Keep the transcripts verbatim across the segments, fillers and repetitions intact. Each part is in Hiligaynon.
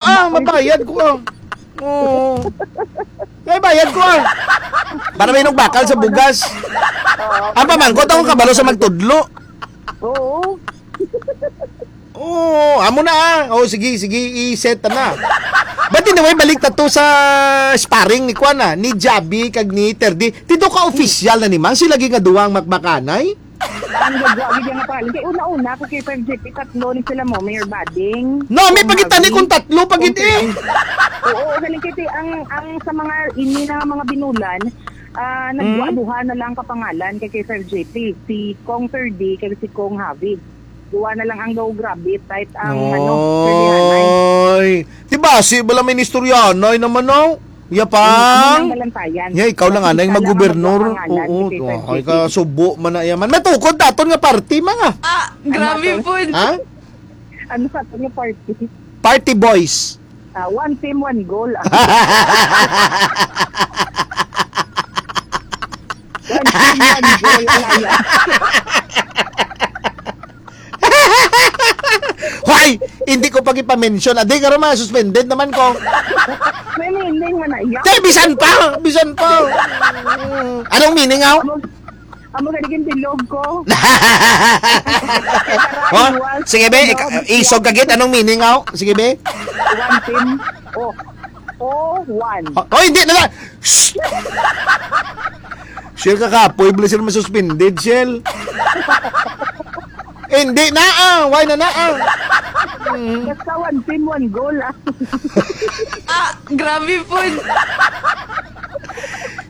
Ah, mabayad ko, ah. Oo. May bayad ko, ah. Para may bakal sa bugas. Ang pamangkot ako kabalo sa magtudlo. Oo. Oo, amo na, ah. Oh, sige, sige, i-set na. But anyway, balik ta to sa sparring ni Kwan, ah, ni Javi kag ni Terdi. Tido ka official na ni Mang sila gid nga duwang makbakanay? Ang gagwa gid nga pangalan. Kay una-una, ako kay Five G P, tatlo ni sila mo, Mayor Bading. No, may Kong pagitani Javi. Kung tatlo, pagit-, eh. Oo, galing kay ti-, ang, ang sa mga ini na mga binulan, ah, nagduha-duha na lang kapangalan kay, kay Sir J P. Si Kong Sir D, kay si Kong Javi. Duha na lang ang daw grabe, tight ang, ano, Sir Dihanay. Oy. Di ba, si bala may nistoryanay naman, no? Yapang. Ang Balantayan. Ya, ikaw lang, Kasi anay, isa lang ang maggobernor. Magkapangalan, Oo, si Sir oh, ay J P. Ka, subo man na yaman. Matukod daton nga party, mga. Ah, grabe po. Ha? Ano sa aton nga party? Party boys. Ah, one team, one goal. Ah. One team, one goal. Alliance. Hoy! Hindi ko pag ipa-mention. Adi, karon mga suspended naman ko. May meaning man na iya. Te, bisan pa! Bisan pa! Anong meaning, aw? Amo, amo gani gin bilog ko. Oh, sige, be. Ika-, isog ka gid. Anong meaning, aw? Sige, be. One team. Oh. Oh, one. Oh, oh, hindi na lang. Shh! Shell, kakapoy, bala sila masuspended, Shell. Hindi na, ah. Why na na, ah? Mm. Basta one team, one goal, ah. Ah, grabe po.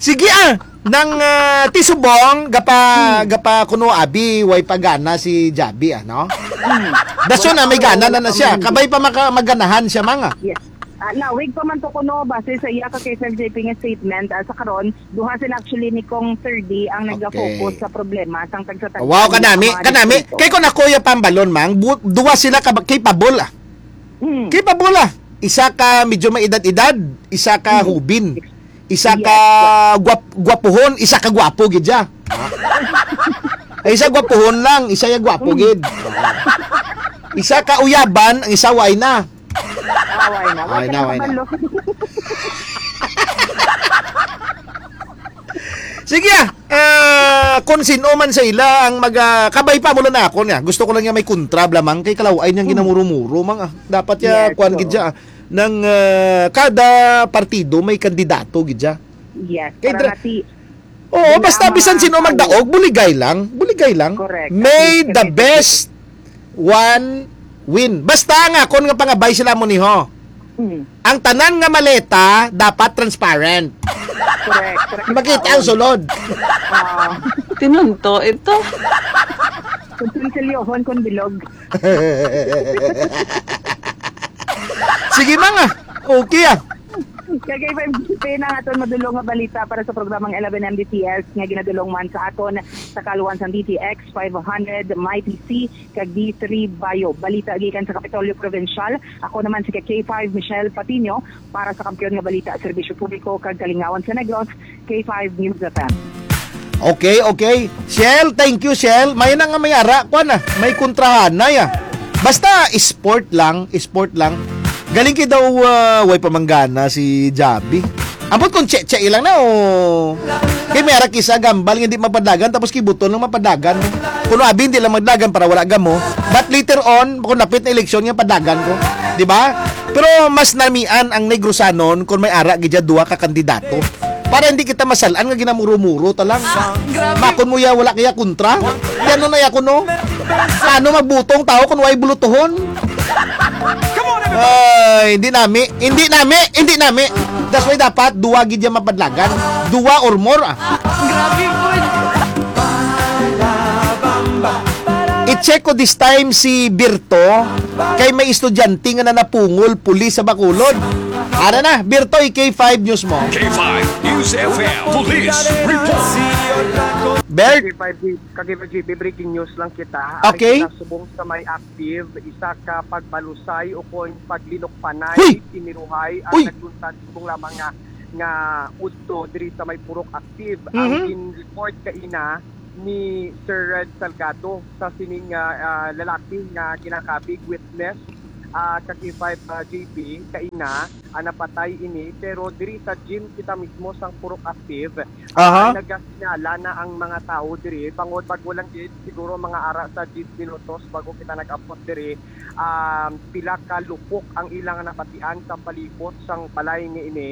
Sige, ah. Nang, ah, tisubong, gapa, Hmm. gapa kuno abi, way pa gana si Javi, ano? Hmm. Dason na, may gana na, na siya. Kabay pa maka-, maganahan siya, mga. Yes. Ah, nawig pa man to kuno, base sa iya ka kay Sir J P nga statement, ah, sa karon, duha sila actually ni Kong Sir D ang Okay. nagafocus sa problema sang tagsa-tagsa Wow, nga kanami, mga kanami. distrito. Kay kung ako yung pambalon, mang, bu-, duha sila ka-, capable, ah. Hmm. Capable, ah. Isa ka medyo may edad-edad, isa ka Hmm. hubin. Isa Yes, ka yes. guwap-, gwapuhon, isa ka gwapo gid siya. Ay, isa gwapuhon lang, isa ya gwapo Hmm. gid. Isa ka uyaban, ang isa way na. Away na. Away na, away na. Sige, ah. Ah, kung sino man sa ila ang mag, ah, kabay pa mo lang na ako niya. Gusto ko lang niya may kontra, blamang kay kalaway niyang Hmm. ginamuro-muro, mang, ah. Dapat ya, Yes, kuwan gid oo. siya, ah, ng, ah, kada partido may kandidato gid siya. Yes, Kay para dra-, nga ti-, Oo, basta bisan sino magdaog, buligay lang. Buligay lang. Correct. May At least the kami best one win. Basta ang akon nga pangabay sila mo ni ho. Mm. Ang tanan nga maleta dapat transparent. Correct. Correct. Makita ang sulod. Ah. Tinunto ito. Kung konsilyohon, kung bilog. Sige, mga. Okay, ah. Kagay pa yung na ang aton madulong nga balita para sa programang eleven M D T S nga ginadulong man sa aton sa kaluan sang D T X five hundred, Mighty C, kag D three Bayo. Balita gikan sa Kapitolyo Provincial. Ako naman si K five Michelle Patino para sa Kampiyon nga Balita, Serbisyo Publiko, kag Kalingawan sa Negros, K five News F M. Okay, okay. Shell, thank you, Shell. May na nga may ara, kuwan na. May kontrahanay, ah. Basta, sport lang, sport lang. Galing kay daw, ah, way pamanggana si Javi. Ambot kung che-che lang na, oh. Kay may ara kisa gambal nga hindi mapadlagan, tapos kibuton lang mapadlagan. Kuno abi, hindi lang magdagan para wala gamo. But later on, kung napit na eleksyon nga padlagan ko. Di ba? Pero mas namian ang Negrosanon kung may ara gid dya duha ka kandidato. Para hindi kita masalan nga ginamuro-muro ta lang. Ah, grabe. Makon mo ya, wala kaya kontra? Yan na ya kuno. Paano magbutong tao kung way bulutuhon? Ay, hindi nami, hindi nami, hindi nami. That's why dapat duwa gid ya mapadlagan. Duwa or more, ah. Grabe po. I-check ko this time si Birto kay may estudyante nga nanapungol pulis sa Bacolod. Ara na, Birto, i-K five News mo. K five News F M Police Report. Bert? K five, K five G P, breaking news lang kita. Okay. Ari kita subong sa may active, isa ka pagbalusay o kon paglinukpanay, Huy! Tiniruhay ang Uy! nagluntad subong lamang nga, nga udto diri sa may Purok Active. Ang Mhm. gin-report kaina ni Sir Red Salgado sa sining, ah, ah, lalaki nga ginakabig witness ah, ka K five, ah, J P, kaina, ah, napatay ini, pero diri sa gym kita mismo sang Purok Active, ah, Aha. nagasinala na ang mga tawo diri, bangod bago lang gid, siguro mga ara sa diyes minutos bago kita nag-abot diri, um, pila ka lupok ang ilang nabatian sa palibot sang balay ni ini,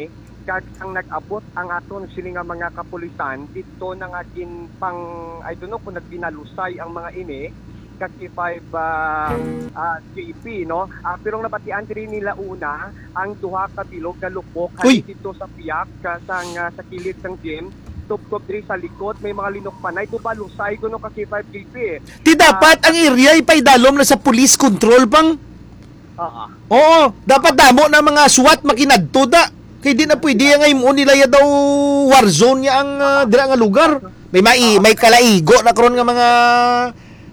kag sang nag-abot ang aton sini nga mga kapulisan, didto na nga gin pang, I don't know kung nagbinalusay ang mga ini, ka K five, ah, ah, J P, no? Ah, pero ang nabatian diri nila una, ang duha ka bilog nga lupok, Uy! halin dito sa piyak, ka, sang, ah, sa kilid sang gym, tubtob diri sa likod, may mga linukpanay, gubalusay, kuno ka K five J P, eh. Ti Ah, dapat ang area ipaidalom na sa police control, bang? Oo. Oo, dapat damo na mga SWAT makinadto da. Kay di na pwede ang imo nila ya daw war zone niya ang, ah, dira nga lugar. May mai-, Oo. may kalaigo na karon nga mga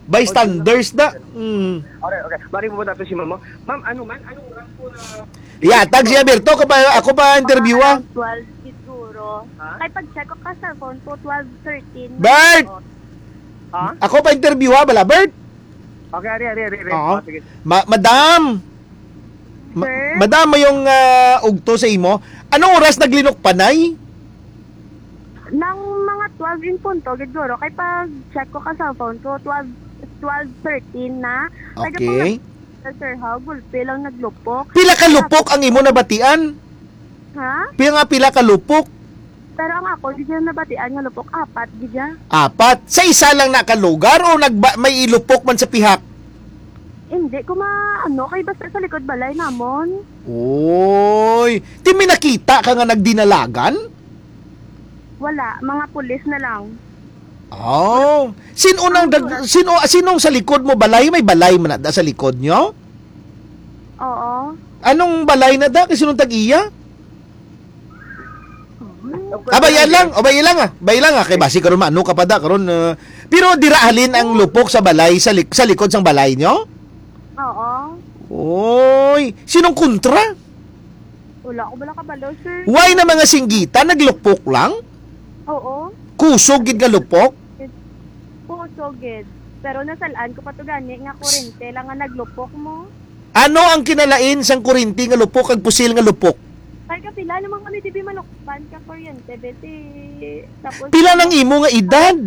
bystanders da. Mm. Okay, okay. Bari mo na to si Mama. Ma'am, ano man? Anong oras po na Ihatag siya, Berto. Ako pa, ako pa interview, ah. Around twelve siguro. Ha? Kay pag-check ko ka cellphone ko, twelve thirteen na Bert! ako. Ha? Ako pa interview, ha, bala, Bert? Okay, ari, ari, ari, ari. Oo. Oh, sige. Ma-, madam! Ma-, Sir? Madam, mayong, ah, ugto sa imo. Anong oras naglinukpanay? Nang mga twelve in punto, gid guro. Kay pag-check ko ka cellphone ko, twelve, twelve thirteen na. Kaya Okay. pag-, Sir, ha, gulpi lang naglupok. Pila ka lupok ang imo nabatian? Ha? Pila nga, pila ka lupok? Pero ang ako, di siya nabatian nga lupok. Apat, di siya. Apat. Sa isa lang na ka lugar o nagba-, may ilupok man sa pihak? Hindi ko ma-, ano, kay basta sa likod balay namon. Oy, ti may nakita ka nga nagdinalagan? Wala, mga pulis na lang. Oh, sino nang Ang dag-, sino, sinong sa likod mo balay? May balay man na da sa likod nyo? Oo. Anong balay na da? Kay sinong tag-iya? Abay lang, abay lang ah. Abay lang ah. Kay basi karon maano ka pa da karon, ah. Pero dira halin ang lupok sa balay, sa lik-, sa likod sang balay nyo? Oo. Oy, sinong kontra? Wala ko bala kabalo, sir. Why na mga singgita naglupok lang? Oo. Kusog gid nga lupok? Kusog gid. Pero nasalaan ko pa to gani nga kurente lang nga naglupok mo. Ano ang kinalain sang kurente nga lupok kag pusil nga lupok? Kay kapila naman kami, di ba, malukban ka kuryente, beti. Tapos Pila nang imo nga edad?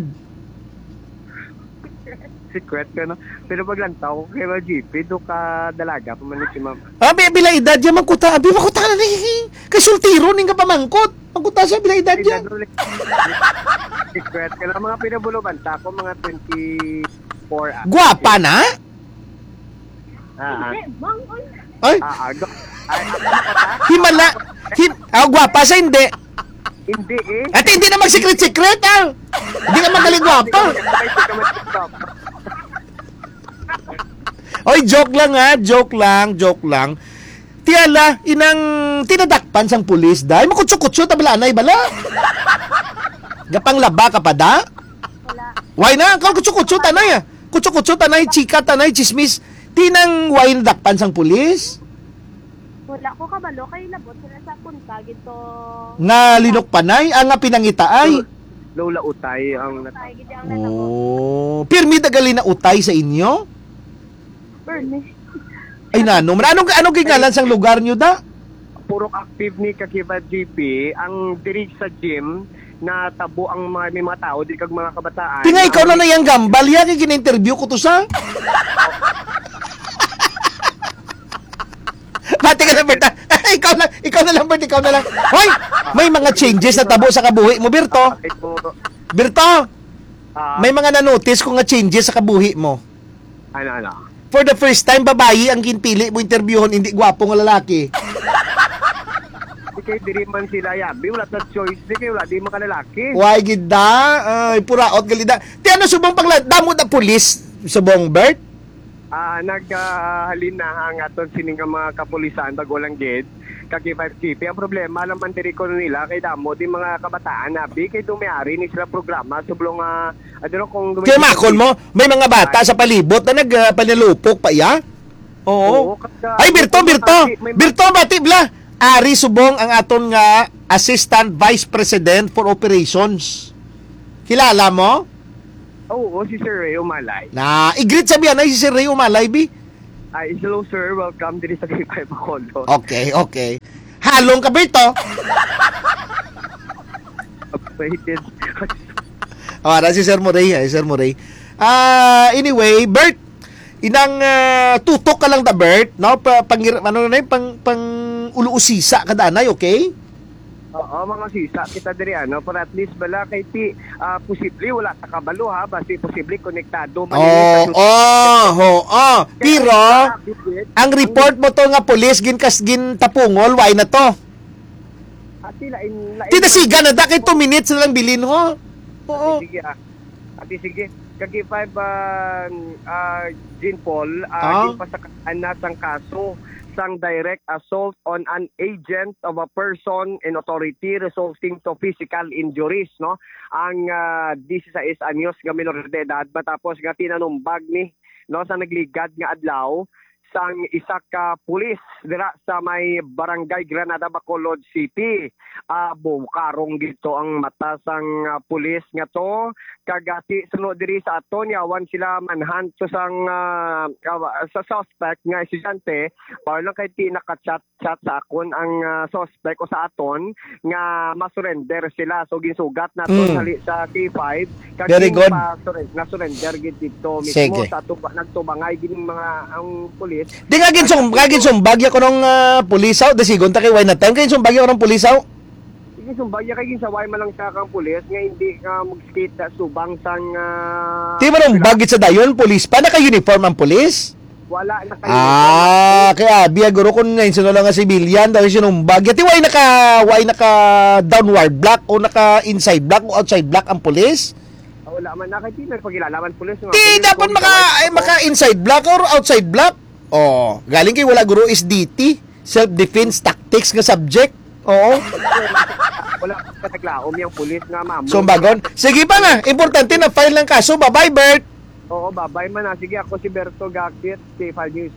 Secret ka, no? Pero paglantaw ko kay G P, do ka dalaga pa man ni si ma'am. Abi, pila edad ya, mangkuta? Abi, mangkuta na ni. Kay soltero ning kapamangkot. Mangkuta siya, pila edad ya. Secret ka lang. Mga pinabulo banta ako, mga twenty-four, ah. Guwapa na? Ah, ah. Ay? Ah, ah, go. Ay, ako na ka, ha? Himala. Him-, ah, guwapa sa hindi. Hindi, eh. Ate, hindi na magsikret-sikret, ah. Hindi na magaling guwapa. Oy, joke lang, ha. Joke lang, joke lang. Ti ala, inang tinadakpan sang pulis, day. Makutso-kutso, tabalanay, bala. Gapanglaba ka pa, da? Wala. Why na? Kau kutso-kutso, tanay, ah. Kutso-kutso, tanay, chika, tanay, chismis. Ti nang why nadakpan sang pulis? Wala ko kabalo, kay labot sila sa punta, gito. Nga linukpanay, ah, nga pinangitaay. Lola Utay ang Utay, gid ang natabo. Oh, pirmi da gali na utay sa inyo? Permi. Ay, nano man. Anong, anong gingalan sang lugar nyo, da? Purok Active ni Kakibat G P, ang diri sa gym, natabo ang mga, may mga tao, di kag mga kabataan. Tinga, ikaw na na yang gambal, ya, kay gina-interview ko to sa. Bati ka na, Bert, ah. Ikaw na, ikaw na lang, Bert, ikaw na lang. Hoy, may mga changes na tabo sa kabuhi mo, Berto. Ay, po. Berto, Ah. may mga na-notice ko nga changes sa kabuhi mo. Ano, ano? For the first time, babayi ang ginpili mo interviewon, hindi gwapo nga lalaki. Di kay diri man sila, yabi, wala ta choice, di kay wala, di makalalaki. Why gid da? Ay, puraot gali da. Ti ano subong pagla-, damo da pulis subong, Bert? Ah, nag, ah, halin na ang aton sini nga mga kapulisan, bago lang gid, ka K five K P. Ang problema lang man diri ko nila, kay damo di mga kabataan, abi, kay dumiari ni sila programa, sublong, ah, I don't know kung Kay makon mo, may mga bata sa palibot na nag, ah, panalupok pa iya? Oo. Oo, kag, ah, Ay, Birto, may mga Birto! may mga Birto, bati bla! Ari subong ang aton nga Assistant Vice President for Operations. Kilala mo? Oo, si Sir Ray Umalay. Na, i-greet sa biyanay si Sir Ray Umalay, bi. Ay, hello, sir. Welcome diri sa K five Bacolod. Okay, okay. Halong ka, Berto? Upgraded. Awara si Sir Murray, ay, Sir Murray. Ah, anyway, Bert, inang ah, tutok ka lang ta, Bert, no? Pa, pangir, ano na yun? Pang, pang uluusisa ka danay, okay? Oo, mga sisa kita diri, ano, para at least bala kay ti ah, posible wala ta kabalo, ha, basi posible konektado man Oo, ini sa oh, oh, oh. Pero Ah, bigit. ang report mo to nga pulis ginkas gintapungol, why na to? Ati lain lain. Tinasigan na da kay two minutes na lang bilin ho. Oo. Ati, sige, ah. Ati, sige. Kag five, ah, ah, Jean Paul, ah, Ah? ginpasakaan na sang kaso sang direct assault on an agent of a person in authority resulting to physical injuries, no? Ang ah, disisais anyos nga minor de edad matapos nga tinanumbag ni, no, sa nagligad nga adlaw sang isa ka pulis dira sa may Barangay Granada, Bacolod City. Ah, bukarong gid to ang mata sang ah, pulis nga to, kag ati suno diri sa aton yawan sila manhunt to sang ah, ah, sa suspect nga estudyante, para lang kay ti naka-chat chat sa akon ang ah, suspect o sa aton nga ma-surrender sila. So ginsugat naton Mm. hali sa K five, kag Very yung good. pa-surren- na-surrender gid dito mismo Sige. Sa tuba, nagtubangay gid yung mga ang pulis. Di nga ginsum, nga ginsumbag ya ko nung ah, pulis out, di sigon ta kay why na time kay ginsumbag ya ko nung pulis out. Sige, sumbag ya kay ginsaway man lang siya kang pulis nga hindi ka mag-skate na subang sang ah, Di man ang bagit sa dayon, pulis pa, naka-uniform ang pulis? Wala na kayo. Ah, kaya biya guro kung na insuno lang nga civilian, daw sinumbag. Yati, why naka, why naka downward block o naka inside block o outside block ang pulis? Wala man na kay di nagpakilala man pulis nga. Di, Pulis, dapat kung maka, ikaw ay ay, maka inside block or outside block. Oh, galing kay wala guro is D T, self-defense tactics nga subject. Oo. Wala ka naglaom yung pulis nga mamo. Sumbagon. Sige pa nga, importante na file ng kaso. Bye-bye, Bert. Oo, babay man na. Sige, ako si Berto Gakit, K five News.